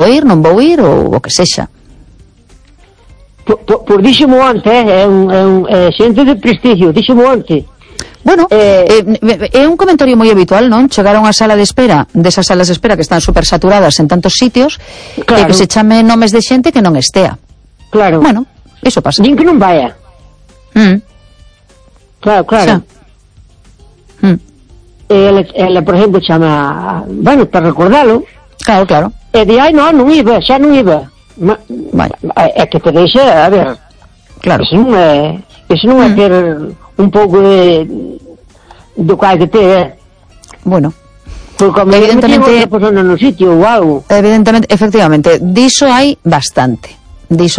ir, non vou ir, ou o que sexa. Por díxemo onte, é xente de prestigio, díxemo onte. Bueno, é un comentario moi habitual, non? Chegar a unha sala de espera, desas salas de espera que están super saturadas en tantos sitios, claro, e que se chame nomes de xente que non estea. Claro. Bueno, iso pasa. Din que non vaya. Claro. Xa. Ela, por exemplo, chama, bueno, para recordalo. Claro. E di, non iba, xa non iba. É que te deixa, a ver, claro. Eso non é ter un pouco do cual que te bueno, porque evidentemente outra persona no sitio ou algo. Evidentemente, efectivamente, diso hai bastante. Dis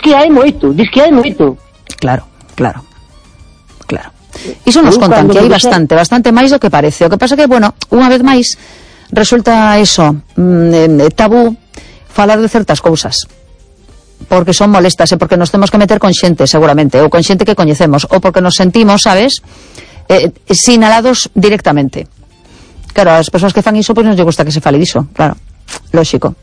que hai moito. Claro. Iso nos contan que hai bastante máis do que parece. O que pasa que, bueno, unha vez máis resulta eso, tabú falar de certas cousas, porque son molestas e porque nos temos que meter con xente, seguramente, ou con xente que coñecemos, ou porque nos sentimos, sabes, sinalados directamente. Claro, as persoas que fan iso, pois non lle gusta que se fale diso, claro, lógico.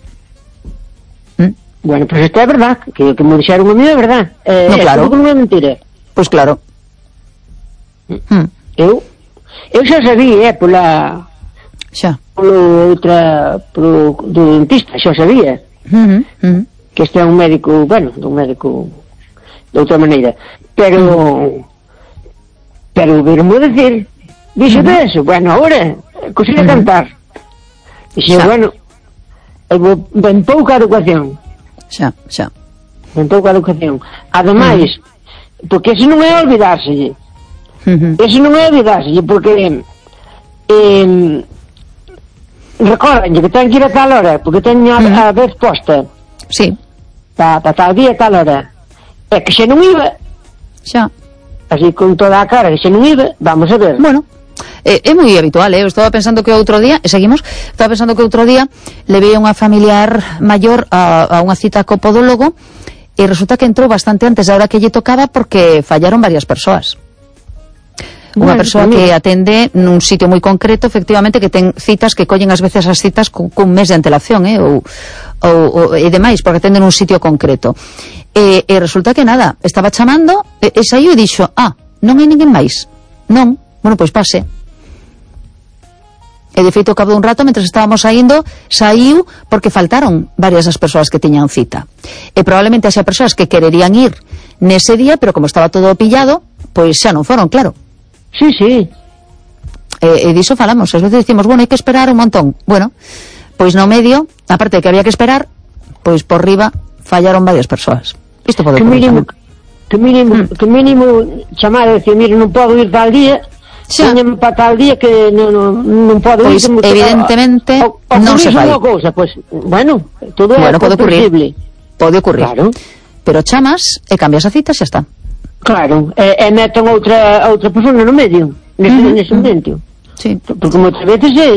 Bueno, pois isto é verdad, que me dixeron a mí é verdad. No, claro. Non é mentira. Pois claro. Eu xa sabía, polo dentista, xa sabía. Que este é un médico, bueno, de outra maneira, pero vermo decir, dixo de eso, bueno, ahora consigo cantar, dixo, bueno, ben pouca educación, ademais, porque eso non é olvidárselle, porque recordanlle que ten que ir a tal hora, porque teño a vez posta. Sí. Para tal día, tal hora. É que se non iba. Xa. Así con toda a cara, que se non iba, vamos a ver. Bueno, é moi habitual, eu estaba pensando que outro día, levei a unha familiar maior a unha cita co podólogo e resulta que entrou bastante antes da hora que lle tocaba porque fallaron varias persoas. Unha persoa que atende nun sitio moi concreto, efectivamente, que ten citas que collen ás veces as citas cun mes de antelación, ou demais, porque atende nun sitio concreto. E resulta que nada, estaba chamando, e saiu e dixo, non hai ninguén máis. Non, bueno, pois pase. E de feito, ao cabo dun rato, mentre estábamos saindo, saiu porque faltaron varias das persoas que tiñan cita. E probablemente haxa persoas que quererían ir nese día, pero como estaba todo pillado, pois xa non foron, claro. Sí. E diso falamos, ás veces dicimos, bueno, hai que esperar un montón. Bueno, pois no medio, aparte de que había que esperar, pois por riba fallaron varias persoas. Isto pode ocurrir. Que mínimo chamar e decir, mire, non podo ir tal día, teñen para tal día que non podo ir. Pois evidentemente non se fai. Pois, bueno, todo é posible. Pode ocurrir. Claro. Pero chamas e cambias a cita, xa está. Claro, e meten outra persona no medio, nese momento. Sí. Porque moitas veces é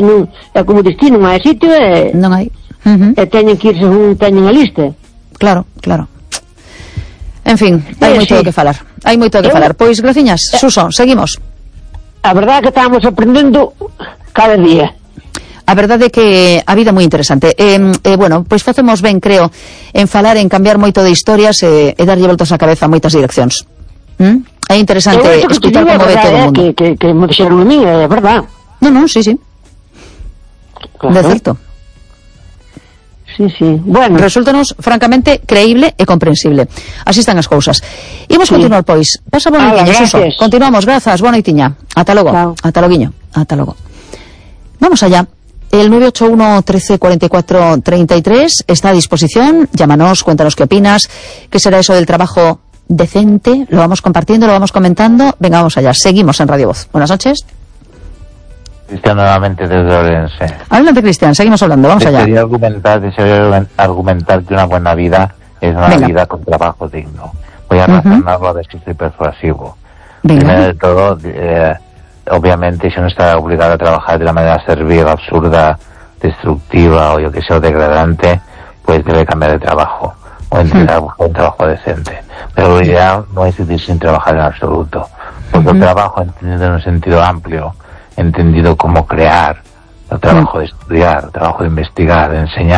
como destino, non hai sitio e non hai. E teñen que ir según teñen a lista. Claro. En fin, hai moito que falar. Pois, graciñas, Suso, seguimos. A verdade é que estamos aprendendo cada día. A verdade é que a vida é moi interesante. Bueno, pois facemos ben, creo, en falar, en cambiar moito de historias e darlle voltas á cabeza a moitas direccións. É interesante escutar como ve todo o mundo. Que me dixeron a mí, é verdade. Non, sí. Claro. De certo. Sí. Bueno, resúltanos francamente creíble e comprensible. Así están as cousas. Imos continuar, pois. Pasa boa noitiña, Suso. Continuamos, grazas, boa noitiña. Ata logo. Ata logo. Vamos allá. El 981 13 44 33 está a disposición. Llámanos, cuéntanos qué opinas, qué será eso del trabajo decente, lo vamos compartiendo, lo vamos comentando. Venga, vamos allá, seguimos en Radio Voz. Buenas noches. Cristian, nuevamente desde Orense. Adelante, Cristian, seguimos hablando, vamos allá. Desearía argumentar que una buena vida es una vida con trabajo digno. Voy a razonarlo a ver si soy persuasivo. Primero de todo, obviamente, si uno está obligado a trabajar de la manera servil, absurda, destructiva o yo que sé, o degradante, pues debe cambiar de trabajo o intentar buscar un trabajo decente. Pero lo ideal no es ir sin trabajar en absoluto, porque el trabajo, entendido en un sentido amplio, entendido como crear, el trabajo de estudiar, el trabajo de investigar, de enseñar,